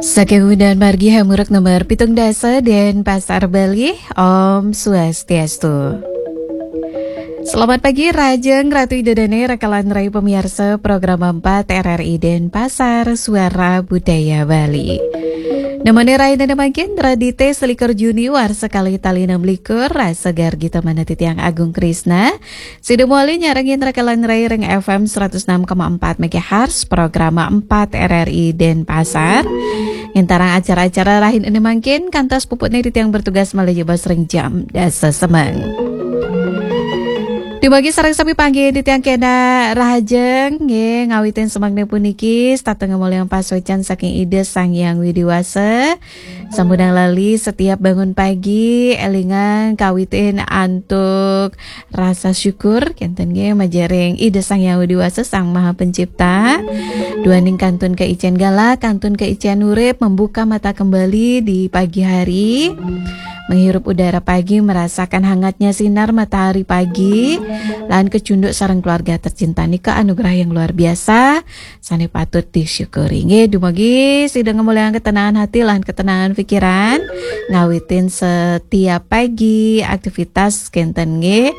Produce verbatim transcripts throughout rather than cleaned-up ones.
Saking Undan Margi Hamuruk nomor pitung dasa Denpasar, Bali. Om Swastiastu. Selamat pagi, Rahajeng Ratu Ida Dane, rakalan rai pamiarsa program empat R R I Denpasar, Suara Budaya Bali. Nemoni rahina mangkin, Radite selikur Juni warsa kalih tali enam likur, rasa gargi tamana titiang Agung Krisna. Sida mawali nyarengin rakalan rai ring F M seratus enam koma empat megahertz, program empat R R I Denpasar. Ngintarang acara-acara rahina mangkin, kantos puputne titiang bertugas malih jebos ring jam dasa semeng. Dumugi sareng sami panggih titiang kena rahajeng, nggih, ngawitin semengne puniki, setata ngamolihang pasuecan saking Ida Sang Hyang Widi Wasa. Sampunang lali setiap bangun pagi, elingang kawitin antuk rasa syukur, kenten nggih, majaring Ida Sang Hyang Widi Wasa, Sang Maha Pencipta. Duaning kantun kaicen galah, kantun kaicen urip, membuka mata kembali di pagi hari, menghirup udara pagi, merasakan hangatnya sinar matahari pagi, lan kecunduk sareng keluarga tercinta nika anugerah yang luar biasa, sane patut disyukuri. Nggih, dumugi sida ngamolihang ketenangan hati lan ketenangan pikiran, ngawitin setiap pagi aktivitas kenten nggih.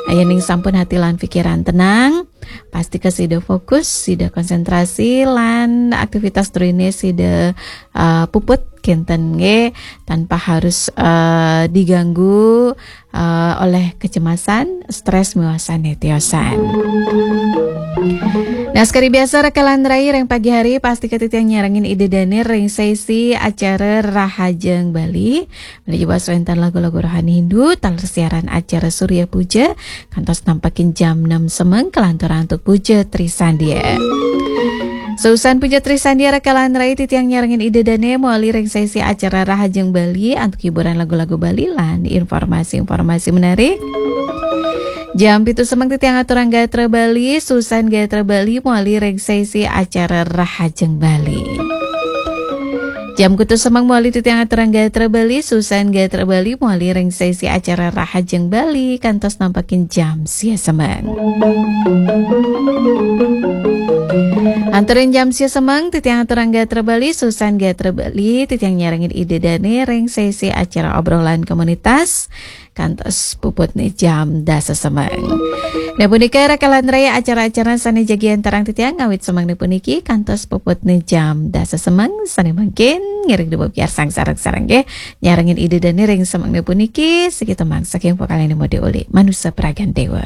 Yening sampun hati lan pikiran tenang, pastika sida fokus, sida konsentrasi, lan aktivitas druene sida, eh, puput kenten nggih, tanpa harus, eh, diganggu, eh, oleh kecemasan, stres, miwah sane tiosan. Nah, sekadi biasa rakalan rai ring pagi hari, pastika titiang nyarengin Ida Dane ring sesi acara Rahajeng Bali. Malih jebos wenten lagu-lagu rohani Hindu, taler siaran acara Surya Puja, kantos nampakin jam enam semeng, kalanturang antuk Puja Trisandia. Sausan Puja Trisandia rakalan rai titiang nyarengin Ida Dane mawali ring sesi acara Rahajeng Bali antuk hiburan lagu-lagu Bali lan informasi-informasi menarik. Jam pitu semeng titiang aturang gatra Bali, sausan gatra Bali mawali ring sesi acara Rahajeng Bali. Jam kutus semeng mawali titiang aturang gatra Bali, sausan gatra Bali mawali ring sesi acara Rahajeng Bali, kantos nampakin jam sia semeng. Antuk ring jam sia semeng, titiang aturang gatra Bali, sausan gatra Bali, titiang nyarengin Ida Dane ring sesi acara obrolan komunitas, kantos puputne jam dasa semeng. Nah, punika rakalan rai acara-acara sane jagi antarang titiang ngawit semengne puniki, kantos puputne jam dasa semeng, sane mangkin ngiring dumugi sareng-sareng nggih. Nyarengin Ida Dane ring semengne puniki, siki tembang saking vokalne Mode Uli, Manusa Pragan Dewa.